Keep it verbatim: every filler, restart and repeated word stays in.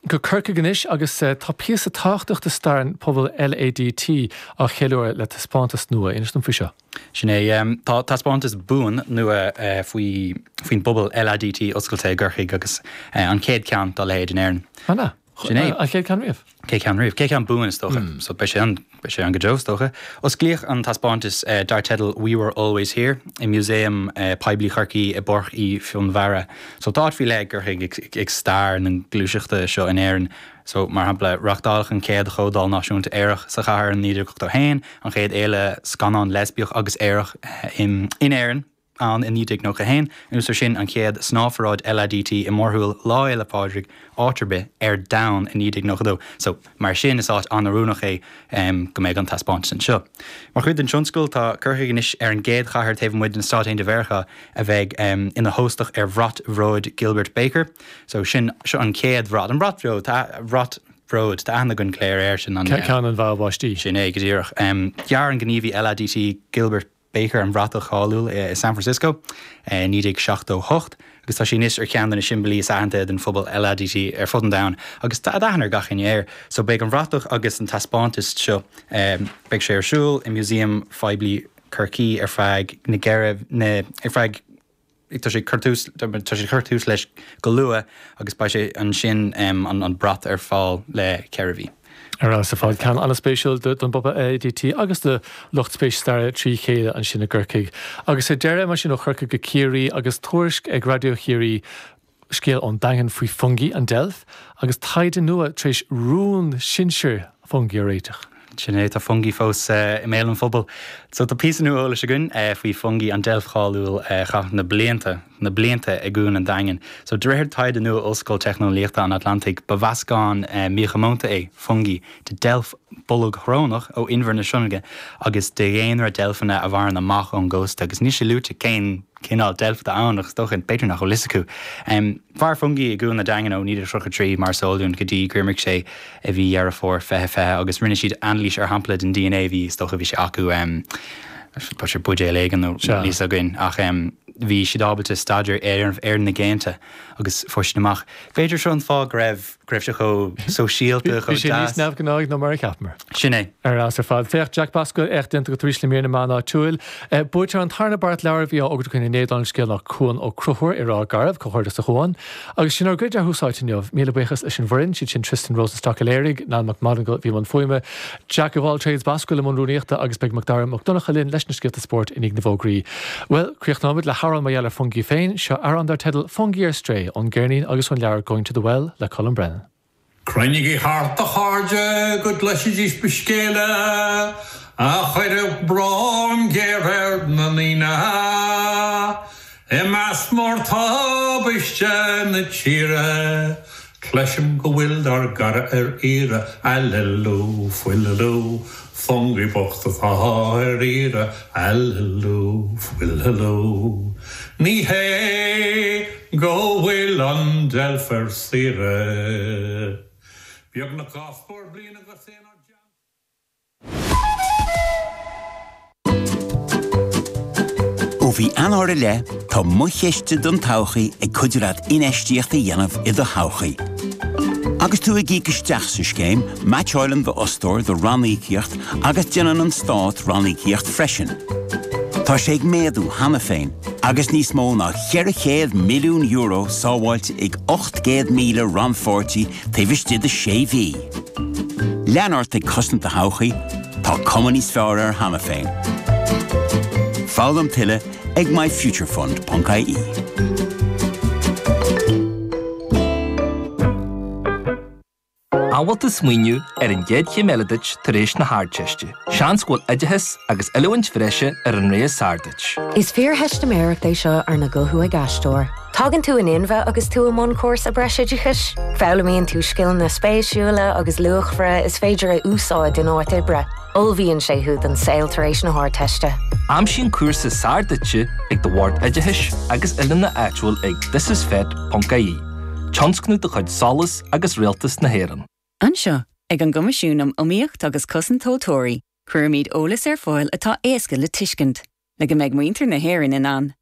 Go Corcaigh anois agus tá píosa tábhachtach de stair an pobal LADT á cheiliúradh le taispeántas nua inis dom faoi seo. Sin é tá taispeántas buan nua faoi faoin bpobal LADT oscailte i gCorcaigh agus an chéad ceann dá leithéid in Éirinn. An Sin é. An chéad ceann riamh? Chéad ceann riamh, chéad ceann buan is dócha, so beidh sé an beidh sé ann go deo is dócha. Osclaíodh an taispeántas dar teideal We Were Always Here i Músaem Poiblí Chorcaí i bPáirc Uí Fhionnbharra. So tá áit faoi leith ag Corcaigh ag stair na gluaiseachta seo in Éirinn. So mar shampla reáchtáladh an chéad chomhdháil náisiúnta aerach sa chathair in naoi déag ochtó haon, an chéad fhéile scannán leispiach agus aerach in in Éirinn ann in naoi déag nócha haon, anuas air sin an chéad snámhpharáid LADT i mórshiúl Lá Fhéile Pádraig áit ar bith ar domhan i naoi déag nócha dó. So mar sin is áit an-oiriúnach é go mbeidh an taispeántas anseo. Mar chuid den tionscal tá Corcaigh anois ar an gcéad chathair taobh amuigh de na Stáit Aontaithe Mheiriceá a bheidh ina hóstach ar bhrat bhróid Gilbert Baker. So sin seo an chéad bhrat, an brat bhróid, tá bhrat bhróid, tá aithne againn go léir air sin an Ceann an bhá báistí. Sin é go díreach. Dhear an gníomhaí LADT Gilbert Baker an bhratach cháiliúil i San Francisco i naoi déag seachtó hocht agus tá sé anois ar cheann de na siombailí is aitheanta den phobal LADT ar fud an domhain agus tá aithne ar gach éinne air. So beidh an bhratach agus an taispeántas seo beidh sé ar siúl i Músaem Phoiblí Chorcaí ar feadh na gceithre na ar feadh tá sé cur tús tá sé cur tús leis go luath agus beidh sé ansin an an brat ar fáil le ceithre mhí. Ar fheabhas ar fad ceann an-spéisiúil don bpobal LADT agus do lucht spéis staire trí chéile ansin i gCorcaigh. Agus ar deireadh mar sin ó Chorcaigh go Ciarraí agus tuairisc ag Raidió Chiarraí scéal ón Daingean faoi Fungie an deilf agus taighde nua tar éis rún sinsir Fungie a réiteach. Sin é tá Fungie fós i mbéal an phobail. So tá píosa nua eolais againn faoi Fungie an deilf cháiliúil a chaith na blianta na blianta i gCuan an Daingin. So de réir taighde nua Ollscoil Teicneolaíochta an Atlantaigh ba mheascán míchomónta é Fungie de deilf bolgshrónach ó Inbhear na Sionainne agus de dhaonra deilfeanna a mhaireann amach ón gcósta agus níl sé luaite cén cineál deilf atá ann agus dócha b'fhéidir nach bhfuil fhios acu. Mhair Fungie i gCuan an Daingin ó naoi déag tríocha trí mar is eol dúinn go dtí gur imigh sé i mhí Dheireadh Fómhair fiche fiche agus rinne siad anailís ar shampla den DNA bhí is dócha bhí sé acu ba sé buidéal éigin nó níl fhios againn ach bhí siad ábalta staidéar ar ar na géinte agus fuair siad amach. B'fhéidir seo an fáth go raibh go raibh sé chomh sóisialta Bhí chomh sé níos deas. neamhghnáigh ná mar a cheapamar. Sin é. Ar fheabhas ar fad. Féach Jack Basquill éacht déanta agat arís le mír na meán áitiúil. Buaiteoir an tarna beart leabhar a bhí á fhógairt againn inné don scéal ná Cuan Ó Conchúir i Ráth Garbh, comhghairdeas a Chuan. Agus sin ár gcuid ar Thús Áite inniu. Míle buíochas leis an bhfoireann, siad sin Tristan Rosenstock a léirigh, Niall Mac Monagail a bhí i mbun fuaime, Jack of all trades Basquill i mbun rúnaíochta agus beidh Macdara Mac Donncha linn leis na scéalta spóirt i ndiaidh na bhfógraí. Well, críochnóimid le hamhrán mar gheall ar Fungie féin, seo amhrán dar teideal Fungie ar Strae ón gceirnín agus ón leabhar Going to the Well le Colm Brennan. Cruinnigí thart a chairde go gcloisfidís mo scéala a chuirfeadh brón géar ar na ndaoine i measc mórthubaiste na tíre. Cloisim go bhfuil ár gcara ar iarraidh, aililiú, fuililiú, Fungie bocht atá ar iarraidh, aililiú, fuililiú. Ní hé go bhfuil an deilf ar saoire. Beagnach dhá scór bliain agus é inár dteannta. Ó mhí Eanáir i leith, tá Mo Chiste don Todhchaí ag cuidiú leat infheistíocht a dhéanamh i do thodhchaí. Agus tú ag íoc isteach sa scéim, meaitseálann d'fhostóir do ranníocaíocht agus déanann an stát ranníocaíocht freisin. Tá sé ag méadú cheana féin, agus níos mó ná ceithre chéad milliún euro sábháilte ag ocht gcéad míle rannpháirtí taobh istigh de sé mhí. Lean ort ag cosaint do thodhchaí, tá cuma níos fearr air cheana féin. Foghlaim tuilleadh ag myfuturefund ponc ie. An bhfuil tú ag smaoineamh ar an gcéad chéim eile duit tar éis na hArdteiste? Seans go bhfuil oideachas agus oiliúint bhreise ar an rogha is fearr duit. Is fíortheistiméireacht é seo arna guthú ag aisteoir. Tagann tú in inmhe agus tú i mbun cúrsa breisoideachais. Foghlaimíonn tú scileanna spéisiúla agus luachmhara is féidir a úsáid in áit oibre. Ullmhaíonn sé thú don saol tar éis na hArdteiste. Aimsigh an cúrsa is fearr duitse ag do bhord oideachais agus oiliúna áitiúil ag thisisfet.ie. Tionscnamh de chuid SOLAS agus Rialtas na hÉireann. Anseo, ag an gCoimisiún um Iomaíocht agus Cosaint Tomhaltóirí, cuirimid eolas ar fáil atá éasca le tuiscint, le go mbeidh muintir na hÉireann in ann